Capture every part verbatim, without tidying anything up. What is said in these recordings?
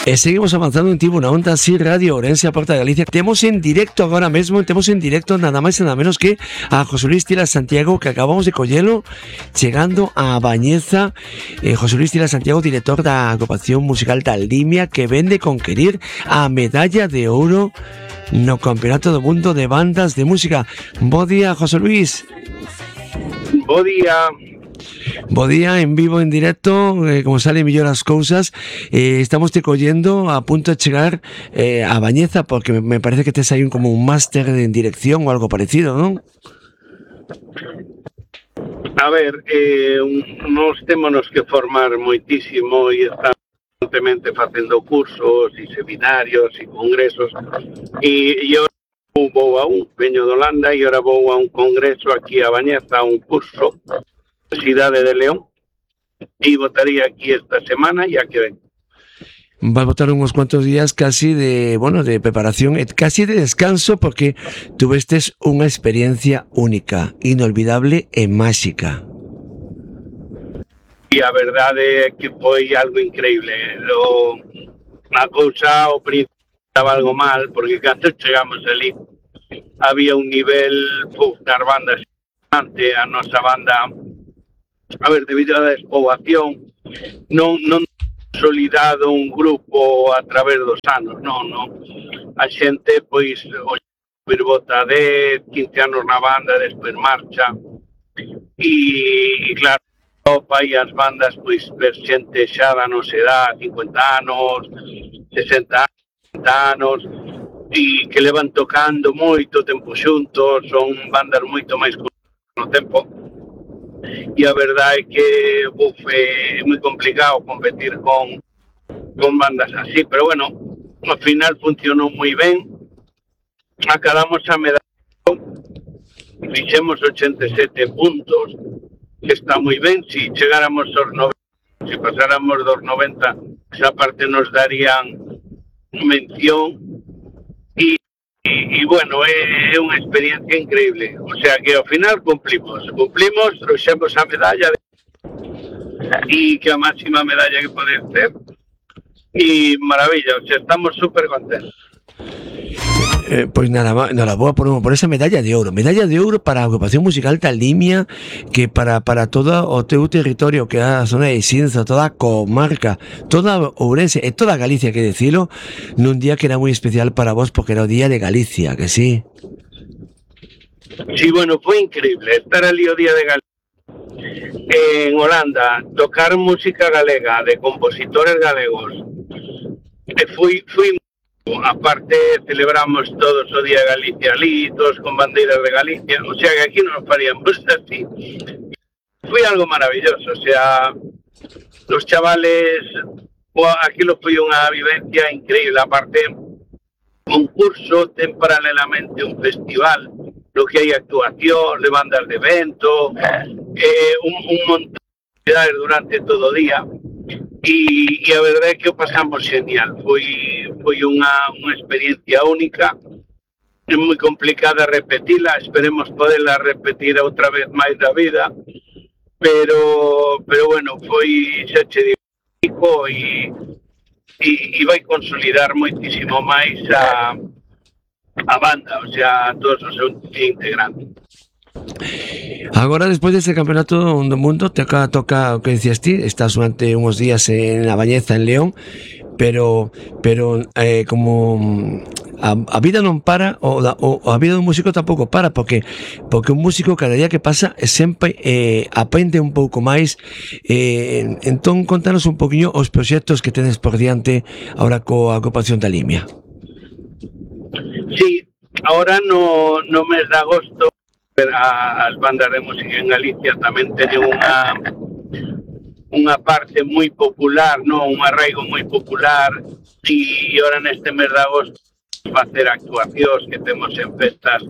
E seguimos avanzando en Tivo na Onda así Radio Ourense a Porta de Galicia. Temos en directo agora mesmo, temos en directo nada máis e nada menos que a José Luis Tila Santiago, que acabamos de collelo chegando a Bañeza. eh, José Luis Tila Santiago, director da agrupación musical da Limia, que vende conquerir a medalla de ouro no Campeonato do Mundo de Bandas de Música. Bo día, José Luis. Bo día. Bo día, en vivo, en directo, eh, como sale mellor as cousas. eh, Estamos te collendo a punto de chegar eh, a Bañeza, porque me, me parece que tes aí un, como un máster en dirección ou algo parecido, non? A ver, eh, nos témonos que formar moitísimo e estamos constantemente facendo cursos e seminarios e congresos, e, e ahora vou a un, veño de Holanda, e ahora vou a un congreso aquí a Bañeza, a un curso Cidade de León, e votaría aquí esta semana e a que ven. Vai botar uns cuantos días casi de, bueno, de preparación, casi de descanso, porque tuvestes unha experiencia única, inolvidable e máxica. E a verdade é que foi algo increíble. O, a cousa ao principio estaba algo mal, porque cando chegamos ali había un nivel puf, das bandas ante a nosa banda. A ver, debido á despoboación, non, non consolidado un grupo a través dos anos, non, non. A xente, pois, o bota de quince anos na banda, despois marcha, e, e claro, Europa e as bandas, pois, ver xente xa da nosa edad, cincuenta anos, sesenta anos, e que levan tocando moito tempo xuntos, son bandas moito máis no tempo. E a verdade é que uf, é moi complicado competir con, con bandas así, pero bueno, ao final funcionou moi ben, acabamos a medalla, fixemos ochenta e sete puntos, que está moi ben. Si chegáramos aos noventa, se pasáramos dos noventa, esa parte nos darían mención, e E, e bueno, é, é unha experiencia increíble. O sea que ao final cumplimos, cumplimos, trouxemos a medalla de... e que a máxima medalla que poder ter. E maravilla, o sea, estamos super contentos. Eh, pois nada, nada boa por, por esa medalla de ouro. Medalla de ouro para a agrupación musical da Limia, que para, para todo o teu territorio, que é a zona de Xinzo, toda a comarca, toda Ourense e toda Galicia, que decilo, nun día que era moi especial para vos, porque era o día de Galicia, que sí? Sí, bueno, foi increíble estar ali o día de Galicia en Holanda, tocar música galega de compositores galegos. E fui, fui aparte celebramos todos o Día de Galicia ali, todos con bandeiras de Galicia, o sea que aquí nos faríamos así. Foi algo maravilloso, o sea, los chavales, aquilo foi unha vivencia increíble, aparte un curso, ten paralelamente un festival, lo que hai actuación, de bandas de evento, eh, un, un montón de actividades durante todo o día. E, e a verdade é que o pasamos genial, foi, foi unha, unha experiencia única, é moi complicada repetila, esperemos poderla repetir outra vez máis da vida, pero, pero bueno, foi xa che digo, e, e, e vai consolidar moitísimo máis a, a banda, o sea, todos os seus integrantes. Agora, despois deste campeonato do mundo, toca, toca o que decías ti, estás durante uns días en a Bañeza, en León, pero pero eh, como a, a vida non para, o, o a vida dun músico tampouco para, porque porque un músico cada día que pasa sempre eh, aprende un pouco máis. eh, entón, contanos un poquinho os proxectos que tedes por diante agora coa agrupación da Limia. Sí, ahora no, no mes de agosto as bandas de música en Galicia tamén teñen unha unha parte moi popular, no, un arraigo moi popular, e ahora neste mes de agosto facer actuacións que temos en festas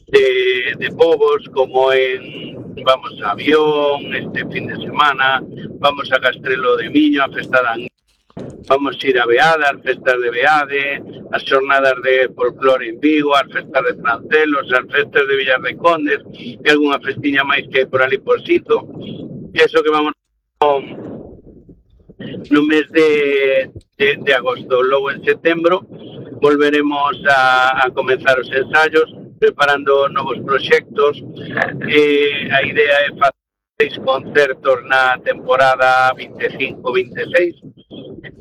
de, de povos, como en vamos a Avión este fin de semana, vamos a Castrelo de Miño, a festa da Anguila, vamos a ir a Beade, as festas de Beade, as xornadas de folclore en Vigo, as festas de Francelos, as festas de Villar de Condes, e algunha festiña máis que hai por ali por Sito. E iso que vamos no mes de, de, de agosto. Logo en setembro volveremos a, a comenzar os ensaios, preparando novos proxectos. Eh, a idea é facer seis concertos na temporada vinte e cinco vinte e seis,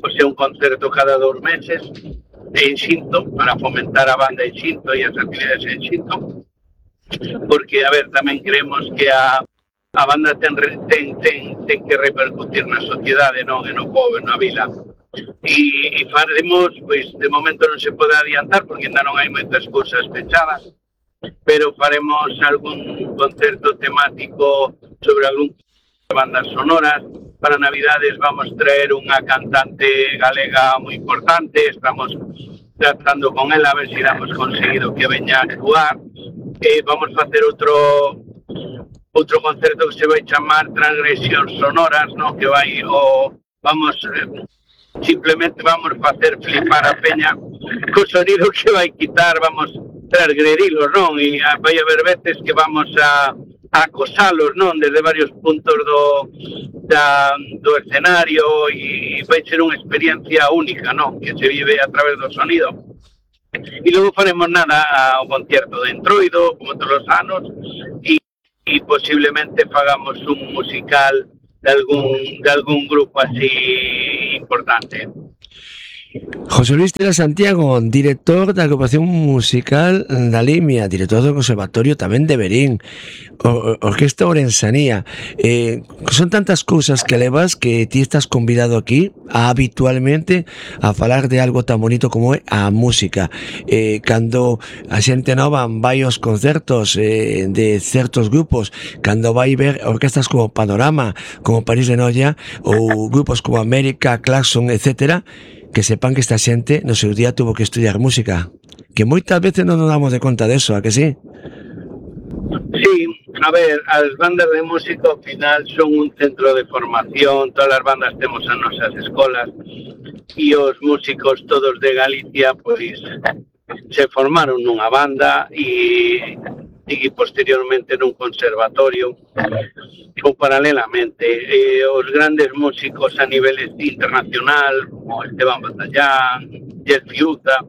o sea, un concerto cada dos meses en Xinto, para fomentar a banda en Xinto e as actividades en Xinto, porque, a ver, tamén creemos que a, a banda ten, ten, ten, ten que repercutir na sociedade, non e no povo, na vila. E, e faremos, pois, de momento non se pode adiantar, porque ainda non hai moitas cousas pechadas, pero faremos algún concerto temático sobre algún de bandas sonoras. Para Navidades vamos traer unha cantante galega moi importante, estamos tratando con ela a ver se damos conseguido que veña a actuar. E vamos facer outro outro concerto que se vai chamar Transgresións Sonoras, no? Que vai o vamos eh, simplemente vamos facer flipar a peña co sonido que vai quitar, vamos transgredilos, non? E vai haber veces que vamos a a acosalos, non? Desde varios puntos do, da, do escenario, e vai ser unha experiencia única, non? Que se vive a través do sonido. E logo faremos nada ao concierto de Entroido, como todos os anos, e, e posiblemente fagamos un musical de algún, de algún grupo así importante. José Luis Tela Santiago, director da agrupación musical da Limia, director do Conservatorio tamén de Verín, o, Orquesta Ourensanía. Eh, son tantas cousas que levas que ti estás convidado aquí a, habitualmente a falar de algo tan bonito como é a música. Eh, cando a xente nova vai aos concertos eh, de certos grupos, cando vai ver orquestas como Panorama, como París de Noia, ou grupos como América, Claxon, etcétera, que sepan que esta xente no seu día tuvo que estudiar música, que moitas veces non nos damos de conta deso, a que sí? Sí, a ver, as bandas de música ao final son un centro de formación, todas as bandas temos as nosas escolas, e os músicos todos de Galicia pois se formaron nunha banda e, e posteriormente nun conservatorio, ou paralelamente. Eh, os grandes músicos a nivel internacional, como Esteban Batallán, Jeff Fiuta,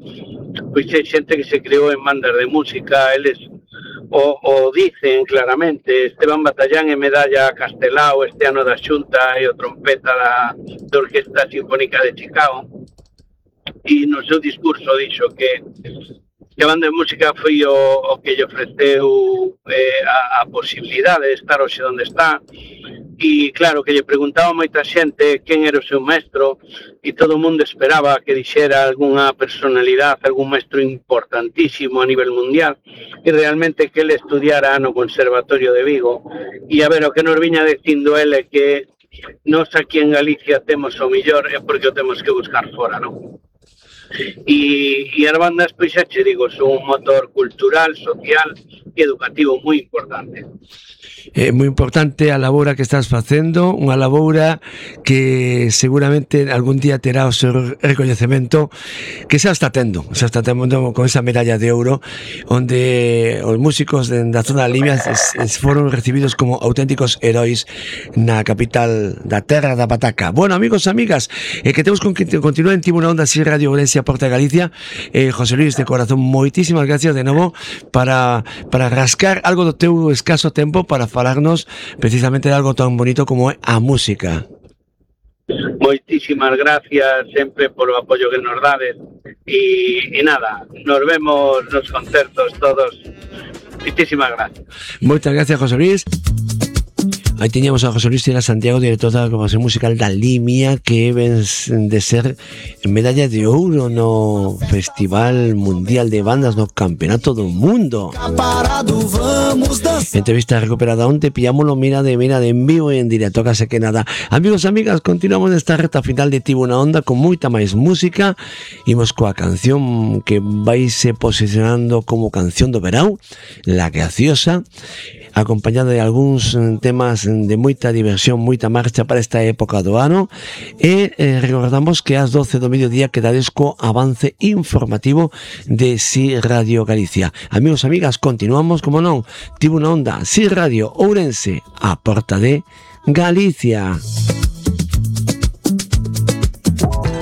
pois é xente que se creou en bandas de música. Eles o, o dicen claramente. Esteban Batallán é medalla Castelao este ano da Xunta e o trompeta da, da Orquesta Sinfónica de Chicago, e no seu discurso dixo que que a banda de música foi o, o que lle ofreceu eh, a, a posibilidade de estar hoxe onde está. E claro, que lle preguntaba moita xente quen era o seu maestro, e todo o mundo esperaba que dixera algunha personalidade, algún maestro importantísimo a nivel mundial, e realmente que ele estudiara no Conservatorio de Vigo. E a ver, o que nos viña dicindo ele que nós aquí en Galicia temos o millor é porque o temos que buscar fora, non? E, e as bandas, pois xa che digo, son un motor cultural, social e educativo moi importante. É moi importante a labora que estás facendo, unha labora que seguramente algún día terá o seu recoñecemento, que xa está tendo, xa está tendo con esa medalla de ouro, onde os músicos da zona de Limia foron recibidos como auténticos heróis na capital da terra da pataca. Bueno, amigos e amigas, eh, que temos que continuar en Tivo na Onda, así Radio Ourense, Porta de Galicia. eh, José Luis, de corazón, moitísimas gracias de novo para, para rascar algo do teu escaso tempo para falarnos precisamente de algo tan bonito como é a música. Moitísimas gracias sempre polo apoio que nos dades, e, e nada, nos vemos nos concertos todos. Moitísimas gracias. Moitas gracias, José Luis. Aí teñamos a José Luis Tela Santiago, director da agrupación musical da Limia, que ven de ser medalla de ouro no Festival Mundial de Bandas no Campeonato do Mundo. Entrevista recuperada onte, pillámoslo, mira de mira de en vivo e en directo, case que nada. Amigos e amigas, continuamos nesta reta final de Tivo na Onda con moita máis música. Imos coa canción que vaise posicionando como canción do verão, La Graciosa, acompañada de algúns temas de moita diversión, moita marcha para esta época do ano. E eh, recordamos que ás doce do mediodía quedades co avance informativo de Si Radio Galicia. Amigos e amigas, continuamos, como non, Tivo na Onda, Si Radio Ourense, a porta de Galicia.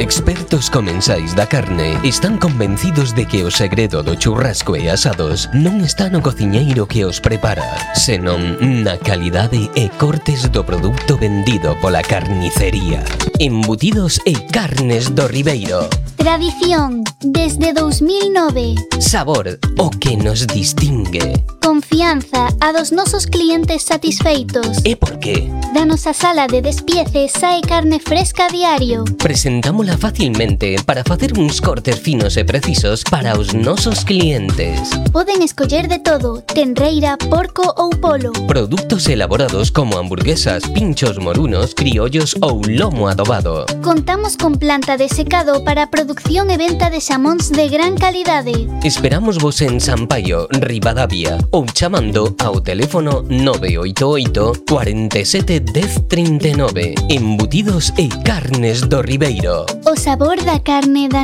En expertos comensais da carne están convencidos de que o segredo do churrasco e asados non está no cociñeiro que os prepara, senón na calidade e cortes do produto vendido pola carnicería. Embutidos e carnes do Ribeiro. Tradición, desde dos mil nove. Sabor, o que nos distingue. Confianza, a dos nosos clientes satisfeitos. E por qué? Da nosa sala de despiece sae carne fresca a diario. Presentámola facilmente para facer uns cortes finos e precisos para os nosos clientes. Poden escoller de todo, tenreira, porco ou polo. Produtos elaborados como hamburguesas, pinchos morunos, criollos ou lomo adobado. Contamos con planta de secado para producción e venta de xamóns de gran calidade. Esperamos vos en Sampaio, Ribadavia, ou chamando ao teléfono nove oito oito, cuarenta e sete, dez, trinta e nove. Embutidos e carnes do Ribeiro. O sabor da carne da